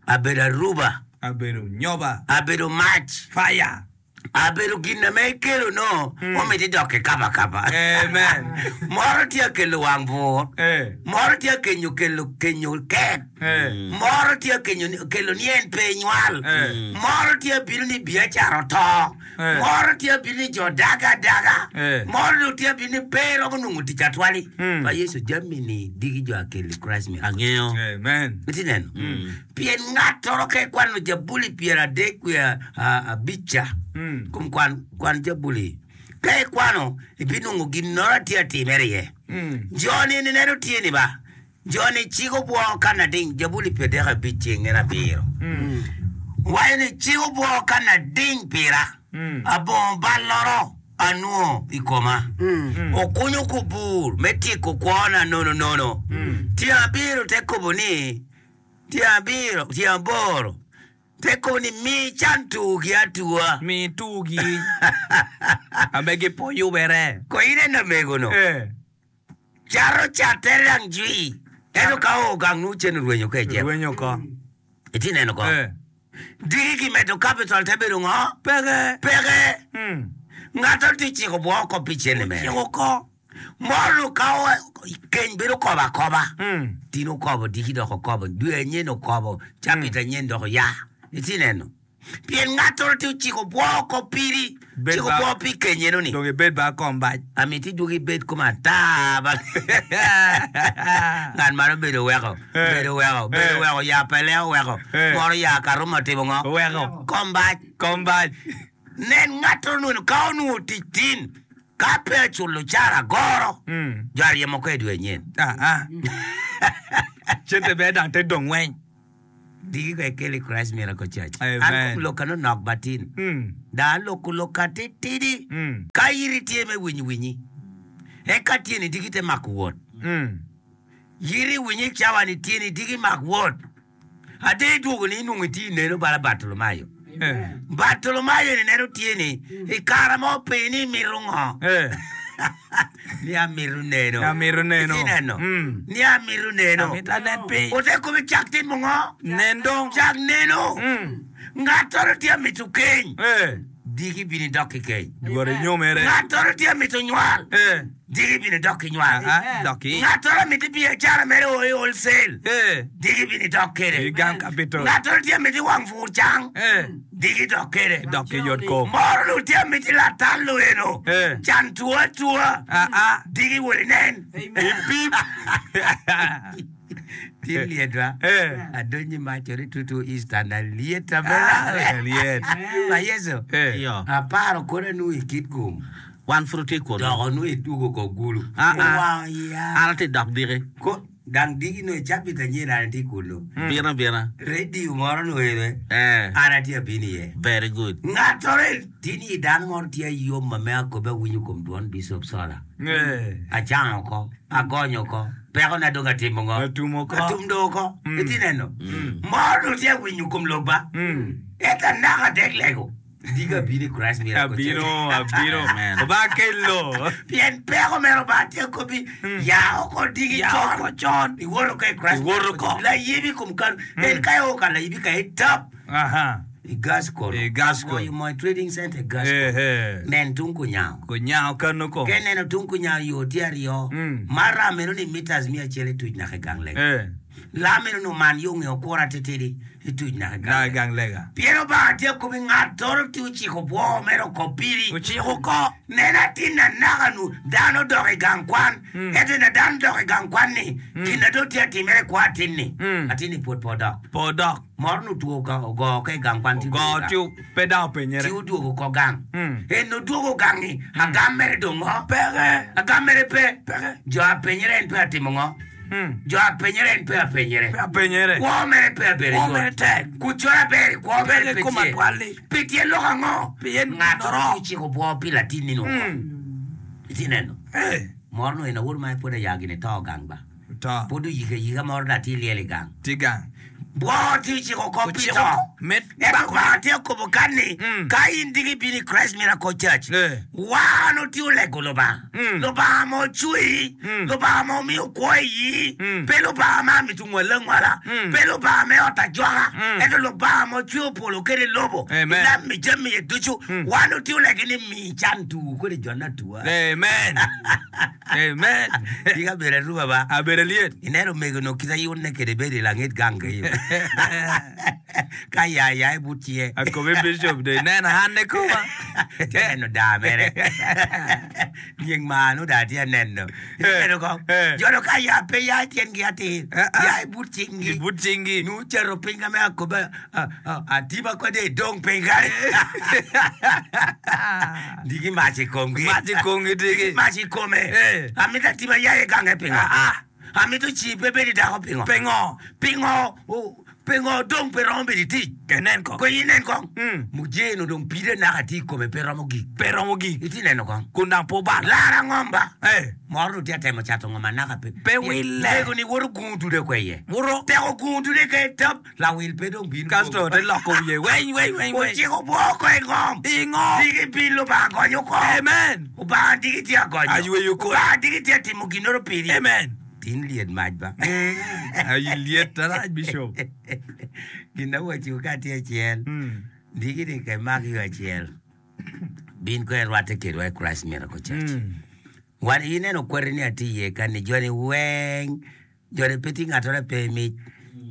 Abedo aruba. Abedo nyoba. Abedo mac. Fire. Abedo gin ame ikelo no omiti dok kikaba kaba. Amen. Moro tye akelo wang bur. Eh. Moro tye akenyo kelo kenyo kek. Eh. Moro tye akenyo kelo ni en pe nywal. Eh. Moro tye abino ni biacara oto. Eh. Moro tye abino ni jo daga adaga. Eh. Moro dong tye abino ni pe romo nongo tic atwali. Mm. Pa Yecu jami-ni diki jo akelo i Christ Miracle. Angeyo. Amen. Itye neno? Pien ngattoro ka ikwano Jabuli pyeradek wiye abic ca, kom kwan, kwan Jabuli. Ka ikwano, ibinongo ginnoro tye atimere iye. Jo-ni nineno tye ni ba, jo-ni cik obwo ka nading, Jabuli pyedek abic ceng en abiro. Waco ni, Cik obwo ka nading pira, abongo balloro anwongo i koma. Okunyo kubur me tyeko kwona nononono. Tyeng abiro te kobo ni, Tyen abiro, tyen aboro, te kobo ni, Mi can tugi atua. Mi tugi ame gipo yubere. Ko in en lamego-nu, Eh. cato cattere dang jwi, ento ka oo gang nongo cen orwenyo ka ejemo. Rwenyo oko. Itye neno ko? Eh. Diki kimedo capital te bedo ngo? Peke. Peke. Mm. Ngat-to tye ciko bwo oko pi cene mere. Ciko oko. Moro ka keny bedo kobo akoba. Mm. Tin okobo, diki dok okobo, dwe anyen okobo, cabit anyen dok oya. Itye neno? Pien ngattoro tye ociko bwo oko piri, Bed ciko ba- bwo pi keny eno-ni. Dong ibed ba kom bac. Amiti idwogi ibed kome ata ba. Ngat man obedo weko, Eh. bedo weko, bedo Eh. weko, ya pele oweko, Eh. moro ya karumo otimo ngo? Oweko. Kom bac. Kom bac. Nen ngattoro nunu ka onwongo tic tin, ka pe aculo cara goro, Mm. jo aryemo ko i dwe anyen. Ah, ah. Cente ber dang te dong weng. Diki ko ekeli Christ Miracle Church. Amen. An kom lokka nonok batin. Mm. Da aloko lokka titidi. Mm. Ka yiri tye me winyi winyi. Eka tyeni diki te mako wot. Mm. Yiri winyi cawa ni tyeni diki mak wot. Ade idwogo ni inwongo iti ineno bala Bartolomayo. Eh. Bartolomayo ni neno tyeni i kare mo pe ni imito ngo. Eh. Ni amito neno. Amito neno. Iti neno. Mm. Ni amito neno. Amito anen piny. Ote komi cak timo ngo? Nen dong. Cak neno. Mm. Ngattoro tye amito keny. Eh. Diki bini dok ki keny. Dwaro inyomere. Ngattoro tye amito nywal. Eh. Diki bini dok ki nywal. Ah, ah. Dok i. Ngattoro amito biacara mere o i wholesale. Eh. Diki bini dok kede. Igam capital. Ngattoro tye amito wang pur cang. Eh. Diki dok kede. Dok i yot kom. Moro lu tye amito latal lu eno. Eh. Can two atua. Ah, ah. Diki wot inen. Ipip. Tin lietwa. Eh. Adonyi machore tutu Eastern aliet Ah, abela. liet. Ma Yesu. Eh. Iyo. Aparo kore nu i kit gum. Wan pud tye kunu. Doko nu itugo ko gulu. Ah, ah. Wow, ya. An atye dok diki. Ko dang diki no icapit anyen an atye kunu. Bino bina. Radio moro no ere. Eh. An atye abino iye. Very good. Ng'atore tin i dano moro tye yom ma me akobe awinyo kuom duond Bishop Sola. Eh. Achango oko, agonyo oko, pekona dong atimo ngo? Atumo oko. Atum dong oko. Iti neno. Moro no tye awinyo kuom loba. Mm. Eka naka dek lego. Diga bino i Christ Miracle Church. Abino, abino. Amen. Oba kelo. Pien peko mero ba tye kobi ya oko digi Ya chon. oko chon. Iwoto ka i Christ Iwoto Miracle ko. Church. Layibi kum kanu. En ka ioko ka layibi ka itap. Aha. I gas kono. I gas kono. Agoyo mo i trading center i gas Eh, kono. eh. Nen tung kunyao. Kunyao kano ko. Ke neno tung kunyao yo tye aryo. Mm. Ma ram eno ni meters mia achiel ituc nyaka i gang lega. Eh. Lam eno ni oman yo ng'e okura titidi ituc nyaka i gang Na lega. gang lega. Pien Obanga tye kobi ng'attoro tye ociko bwo mere oko piri. Ociko ko. Nen atin na naka nu dano odok i gang kwan. Mm. Ento na dano odok i gang kwan ni gin na dong tye atimere kwa atin ni. Mm. Atin ni pwod pe odok. Po dok. Moro nu two ka ogo ka i gang kwan ti Go odwogo gang. ti pe dang openyere. Ti odwogo ko gang. Mm. En odwogo gang-ngi agam mere dong ngo? Peke. Agam mere pe. Peke. Jo apenyere en pe atimo ngo? Mm. Jo apenyere en pe apenyere. Pe apenyere. Kwo mere pe abedo Kwo yot. mere tek. Kucoro aber i kwo mere Peke pe kom tye. atwal-li. Pi tyen lok ango? Pien Ng'ato noro. tye ociko bwo pi latin-ni oko. Mm. Iti neno. Eh. Moro no en awor ma pod aya gini to gang ba. To. Pod oyiko ayika moro da tye liel i gang. Ti gang. Bwo tye ociko oko pi Ociko to. Mit. Ento Obanga tye okobo kan ni Mm. ka in diki ibino i Christ Miracle Church Eh. wan otye olego Lubanga. Mm. Lubanga ma ocweyi, Mm. Lubanga ma omiyo kwo iyi, Mm. pe Lubanga ma amito ngwale angwala, Mm. pe Lubanga me ot ajwaka, Mm. ento Lubanga ma ocweyo polo kede lobo, Amen. inam mi jami iye ducu, wan otye olego ni mi can tuu kede jona tua. Amen. Amen. Dika bedo aruba ba. Abedo liet. Ineno omego-ni kite yunne kede bedo i langit gang keyo. Ka ya ya i but cie. Akobi bishop de neno an koma. Tye neno daa mere. Nying mano daa tye neno. Ineno ko? Eh. Jono ka ya pe ya tyengi atir. Eh, ah. Ya i but cingi. I but cingi. Nu cero piny ka me akobe ah, ah, atiba kode idong piny kany. Digi mac i komgi. Mac i komgi digi. Mac i kome. Eh. Amito atiba ya i gange pingo. Ah, ah. Amito ci pe bedo i dako pingo. Pingo. Pingo. o- Pingo dong pe romo bedo i tic. Kenen ko. Ko inen kong. Mm. Mujeno dong pide naka tye i kome pe romo gik. Pe romo gik. Iti neno kong. Kun dang po bal. Lara ngomba. Eh. Moro nu tye atemo cato ngoma naka pe. Pe wille. Lego ni woto gungu dude kwe iye. Wuro. Teko gungu dude ke tap. Lawil pe dong bino. Kasto te loko wiye. Weny weny weny weny. Ociko bwo ko i ngom. I ngom. Digi pin Lubanga gonyo ko. Amen. Obanga digi tye agonyo. Ayweyo kore. Obanga digi tye atimo ginoro piri. Amen. Tin liet mac ba. Ayi liet arac bishop. Gin awaco ka tye acel. Mm. Digi ni ke mak yo acel. Bin ko irwatte kedwa i Christ Miracle Church. Mm. Wan ineno kweri ni atye iye kani joni weng joni pe tye ngatore pe mic.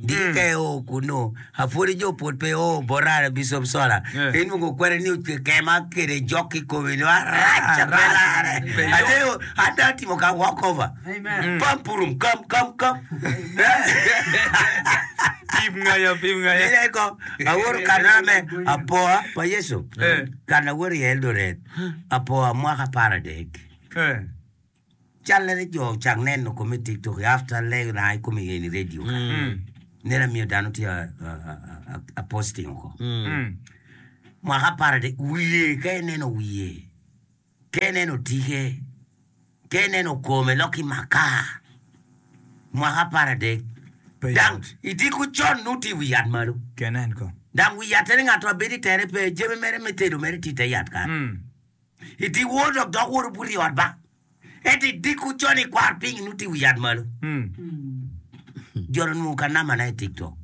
Diki ka eo kunu apwodi jo pwod pe o bota Bishop Sola. Eh. Inwongo kweri ni ocwe kema kede jok ki komi ni arac pe lare. Pe yot. Ate ata atimo ka walk over. Amen. Pam purum kam kam kam. Pim ngaya, pim ngaya. Ine ko awor kana me apoa pa Yecu. Eh. Kana awor i Eldoret apoa mwaka apar adek. Eh. Calere jo cak neno kome i TikTok after lego na i kome i radio ka. Mm. Neno amiyo dano tye a, a, a, a, a posting oko. Mm. Mwaka apar adek wiye ka ineno wiye ka ineno tike ka ineno kome loki maka mwaka apar adek Pe dang yot. idiko con nuti i wi yat malo Kenen ko. dang wi yat ene ng'ato abedo i tere pe jami mere me tedo mere tye i te yat kan Mm. iti wor dok dok wor obuto i ot ba ento idiko con ikwar piny nuti i wi yat malo Mm. jono nwongo ka namana i TikTok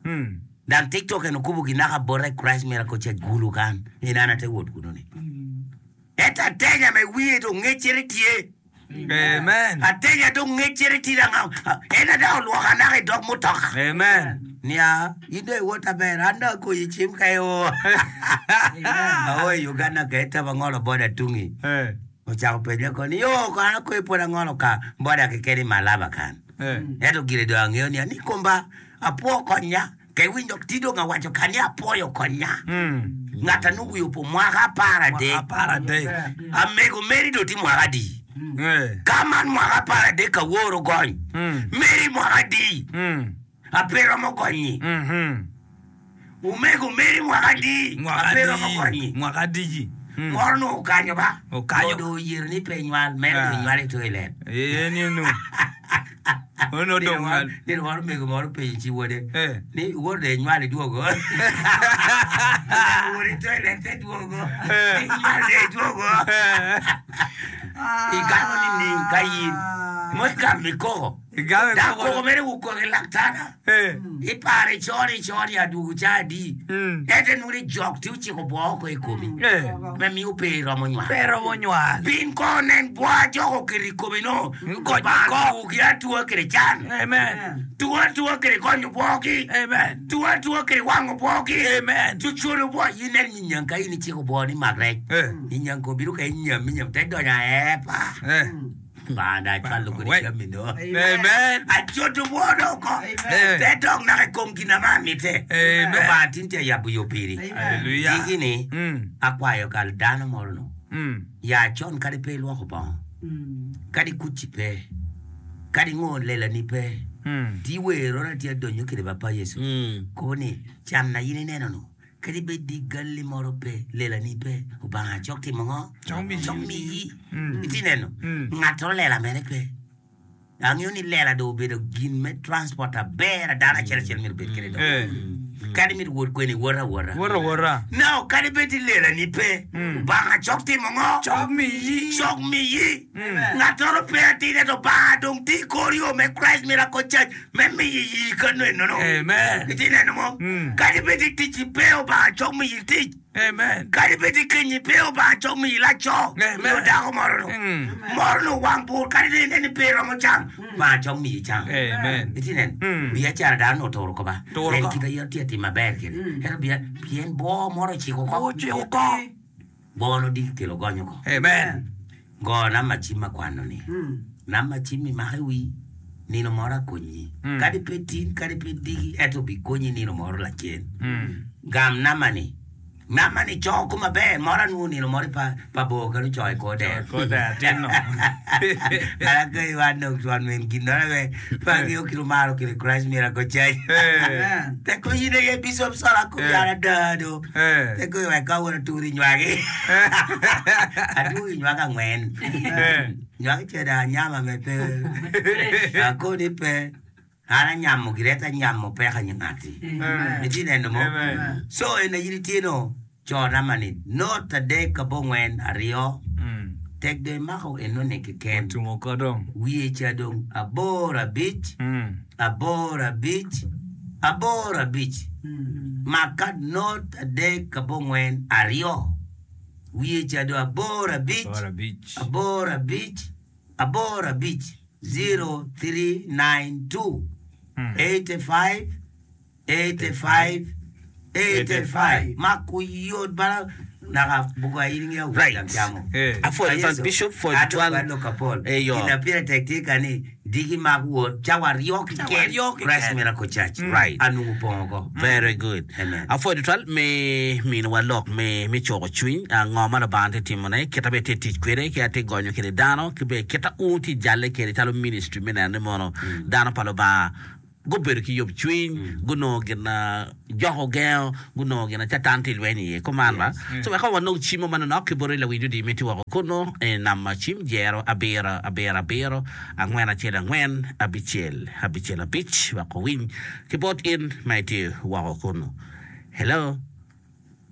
Mm. dang TikTok en okubo ginaka bota i Christ Miracle Church gulu kan en an ate wot kuno ni ento atenya me wiye dong ngecere tye Amen. atenya dong ngecere tye dang en ada olwoka naka i dog mutoka Amen. nia in dong iwot aber an dong agoyi cim ka io ao i Uganda ka etaba ngolo boda tungi Eh. ocako penja ko ni yo ko an akoyi pod angolo ka boda keken i Malaba kan Eh. ento gire dong ang'eyo ni ni komba apuo konya ke winjo ti dong awacho ka ni apuoyo konya Mm. ng'ata nuwiyo po mwaka apar adek Apar adek. amego meri do ti mwaka adi Eh. ka man mwaka apar adek awuoro gony Mm. meri mwaka adi Mm. ape romo gonyi Mhm. umego meri mwaka adi Mwaka ape romo adi. gonyi Mwaka adi. Mm. moro no okanyo ba Okanyo. Mondo oyiero ni pe nywal mere Ah. do nywal e toilet Eh, ni nu. Ono dong ngal. Nino moro mego moro penjo chi wuode Eh. ni wuod de nywal iduogo wuod e toilet te duogo Eh. inywal de iduogo Eh. igamo ni ning ka yin mo igamo ikoko Igame da koko. koko mere wuok e laktana Eh. ipare chon ichon aduogo cha adi Mm. ete nuri jok ti ochiko bwo oko e komi Eh. mamiyo pe romo nywal Pero monywal. piny ko nen bwa jok oketo i komi no Gony oko. tugi atua kede can Amen. tuo atua kede gonyo bwogi Amen. tuo atua kede wang'o bwogi Amen. cucudo bwo inen nyinyang ka in ichiko bwo ni mak rec Eh. nyinyang ko biro ka inyam inyam te donyo aepa Eh. banda achwalo kode Wait. jami no Amen. achoto bwo doko Amen. te dong naka i kom gina ma mite Amen. Lubanga tin tye yabo yo piri Hallelujah. Diki-ni Mm. akwayo kal dano moro no Mm. ya con kadi pe ilwoko bongo kadi kuci pe kadi ng'o lelani pe Mm. ti werona ti adonyo kede ba pa Yesu Mm. koni cam na in ineno no kadi bed di galli moro pe lelani pe Obanga cok timo ng'o Cok miyi. cok miyi Mm. iti neno Mm. ng'ato lela mere pe ang'eyo ni lela do obedo gin me transport aber dano achiel achiel miro bed kede do Eh. kadi miro wuot kweni wuota awuota Wora wora. now kadi bed ni lelani pe Mm. Obanga cok timo ng'o Cok miyi. cok miyi Mm. ng'atoro pe atine to Obanga dong ti kor yo me Christ Miracle Church me miyi yi kano enono Amen. iti neno mo Mm. kadi bed ni tic pe Obanga cok miyi tic Amen. kadi bed ni kenyi pe Obanga cok miyi laco Amen. nyo dako moro no Mm. moro no wang bur kadi ni neni pe romo cam Obanga cok miyi cam Amen. iti neno Mm. biacara dano oturo ko ba Turo en ko. kita yer tie timo maber kede ento bia pien bo moro ochiko ko Ochiko ko. bono di kelo gonyo ko Amen. go namba cim akwano ni namba cim imako i wi nino moro akonyi Mm. kadi pe tin kadi pe diki ento bikonyi nino moro lacen Mm. gam namba ni namba ni coko maber moro anwong'o nino moro pa pa bor kado ocoyo i kor dero Kor dero tin no. Kara ka iwan dong twon min gin moro me pa ng'iyo kit omaro kede Christ Miracle Church Eh. Teko in aye Bishop Sola Eh. kubiara dado Eh. Teko iwek kawuono turi nywagi Aduogi nywak ang'wen Eh. Nywak cheda anyama me pe Akoni pe An anyamo gire to anyamo pek ng'ati Amen. Iti neno mo Amen. So en in itie no cho namba ni not adek abong'wen ariyo Mm. tek do imako enoni keken Otumo ko dong. wiye cha dong aboro abich Mm. aboro abich aboro abich maka not adek abong'wen ariyo Wiye ca do aboro abic, Aboro abic. aboro abic, aboro abic, zero three nine two, eighty five, eighty five, eighty five. Ma kuyot bala naka buga in nge awuot Right. lang camo. Eh. Apwoyo twal Bishop, pwoyo Ato twal. kwa lok apol. Eh, yo. Gin pire tek tye ka ni diki mak wot cawa aryo Cawa keken aryo keken. Christ Miracle Church. Right. Anungu pongo ko. Very good. Amen. Apwoyo twal me minowa lok me me coko cwiny ah, ngo ma Lubanga tye timone kita be tye tic kwede ki atye gonyo kede dano ki be kita un tye jalle kede calo ministry me neno ni mono dano pa Lubanga gubedo ki yob cwiny gunongo gin na joko gengo gunongo gin na catan tye lweny iye kuman ba so wek wanong cimo manonok ki boti lawinjo di miti woko kuno e namba cim jero abiro abiro abiro angwen acel angwen abicel abicel abic wek owiny ki bot in ma itye woko kuno. Hello.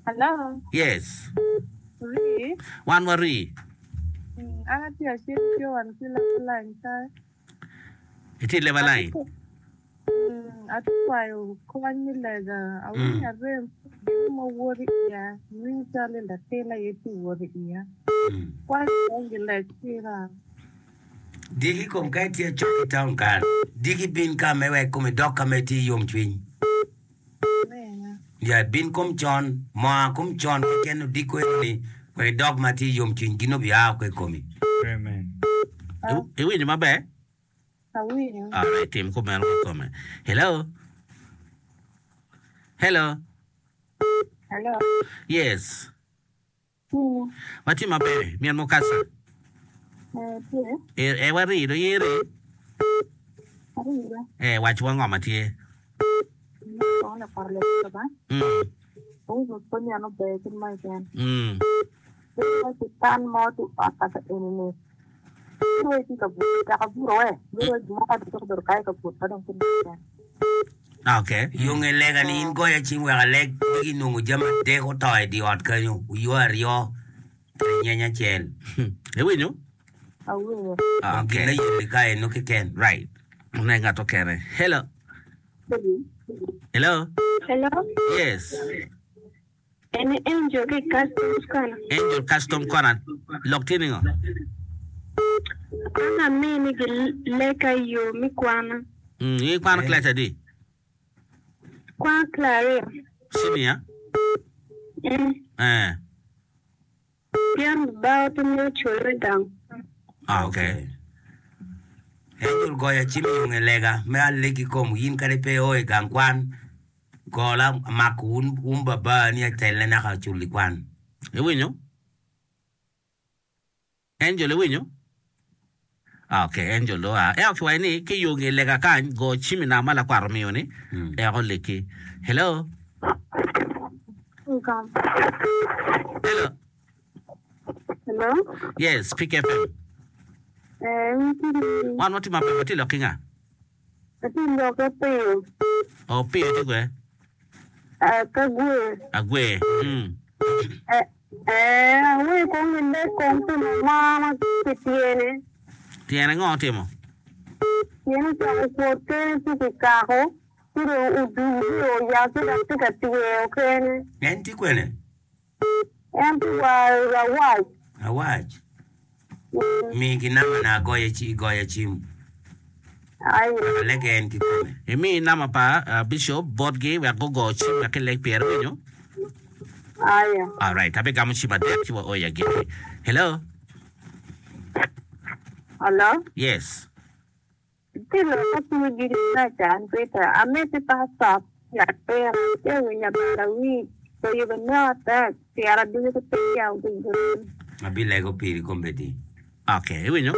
Hello, Yes. ri. Wan wari. Mm, An atye acel Joan ki line kae. Itye leba line. Mm, atye kwayo kony me lega. Awinyo arem gin mo wot iya. Awinyo calo latin aye tye wot iya. Kwayo kony gileg pira. Diki kom ka itye cok i town kan. Diki bin ka me wek kome dok ka me tye yom cwiny. Amen. Ya bin kom con, moa kom con keken odiko eni wek dok ma tye yom cwiny gin obia oko i komi. Amen. Ah, Iwinjo maber? awinyo. Alright, tim kumeno kikome. Hello. Hello. Hello. Yes. Mm, Watye maber. Mien mukasa. eh, tye. E, e wari do iri. Awinyo. E wach wa ngo ma tye. Kong lakwaro lek ba. Mm. Awinyo pwony ano ber kit ma keken. Mm. Bedo ki tan mo ti ot kaka eni ni. Bedo tye ka buto, taka buto we. Bedo gimo ka duto bedo kae ka buto ka dong kit ma keken. Okay. Yo nge lega ni in goya cim wek aleg diki nongo jami adek oto i di ot kanyo uyo aryo kede nyeny acel. Iwinyo? Awinyo. Kom gin Okay. na yeli ka eno keken. Right. Ne ng'ato kene. Hello. Hello. Hello, Yes. en Angel ki Customs Corner. Angel Custom Corner. Lok tye ningo? An amini gi leka i yo mi kwana. Mm, ikwano class adi? Kwan Claria. Senior? Mm. Eh. Pien bao ti miyo cul me gang. Ah, okay. Angel goya cim yo nge lega me alegi kom in kadi pe o i gang kwan gola mako un, un baba ni atelle naka culi kwan. Iwinyo? Angel iwinyo? Ah, Okay, Angel do ah. Eo kiwaco ni ki yo nge lega kany go cim i namba lakwaro miyo ni Mm. eko leki. Hello. Welcome. Hello. Hello? Yes, Speak F M. Eh, ntie Wan watye maber watye lok ki nga? atye loke piyo. O piyo tye kwe? Eh, ka gwe. Agwe. Mm. Eh, eh, awe kong gi lek kong pi mama ki tyene. Tyene ngo otimo? Tyene ocako kwot kene ci kikako. Ci dong odugi oya ci dok tye ka tyeo kene. En tye kwene? En tye wa awac. Awac. Mm. Mi gi namba na agoya ci goya cim. Ayo. Alege en kikome. Imi namba pa uh, Bishop botgi wek gugo cim wek kilek pyere winyo. Ayo. All right, abigamo cim adek ci wa oya giki. Hello. Hello? Yes. Ti loka piyo giri na chan Peter. Ameti pastor ya pera te winya bala wi. So you will know that tiara dugu ko tiya ugu. Abi lego piri kombedi. Okay, iwinyo?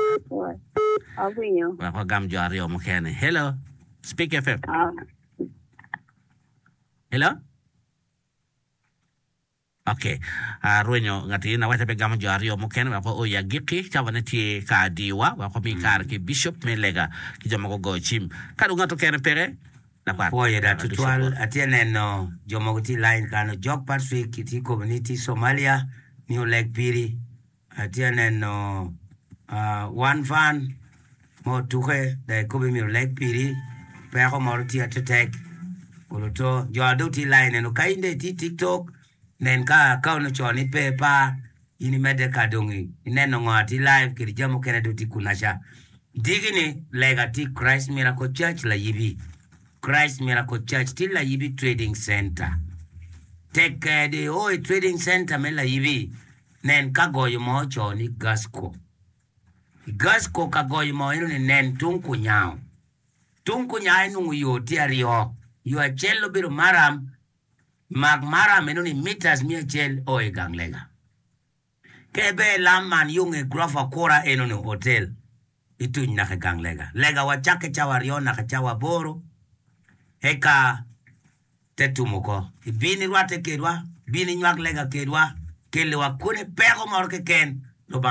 Awinyo. Wek wagam jo aryo mukene. Hello. Speak F M. Ah. Hello. Okay. Arwenyo ngati na wacha pe gamo jo aryo mukene wek oya giki cawa ne tye ka diwa wek omi kare ki Bishop me lega ki jo ma gugo cim. Ka dong ngato kene peke lakwat. Pwoyo da Bishop tutwal bot. atye neno jo mogo tye i line kano Jok Patrick tye kobo ni tye Somalia ni oleg piri atye neno uh, One Van ma otuke da ikobo myero oleg piri peko moro tye atetek oloto jo ado tye i line eno ka in dong itye i TikTok nen ka account oco ni pe pa In imedde ka dong ineno ngo atye live kede jami mukene dong tye kunaca. Diki ni lega tye i Christ Miracle Church Layibi. Christ Miracle Church tye Layibi Trading Center. Tek kede o i Trading Center me Layibi, nen ka goyo mo oco ni Gasco. I Gasco ka goyo mo eno ni nen tung kunyango. Tung kunyango inongo yo tye aryo. Yo acel obedo maram, mak maram eno ni meters miya acel o i gang lega. Ka iber lam man yo nge gurofa kura eno ni hotel ituny naka i gang lega. Lega wa cakke cawa aryo naka cawa aboro eka te tum oko. Ibin irwatte kedwa, bin inywak lega kedwa, kelli wa kone peko moro keken.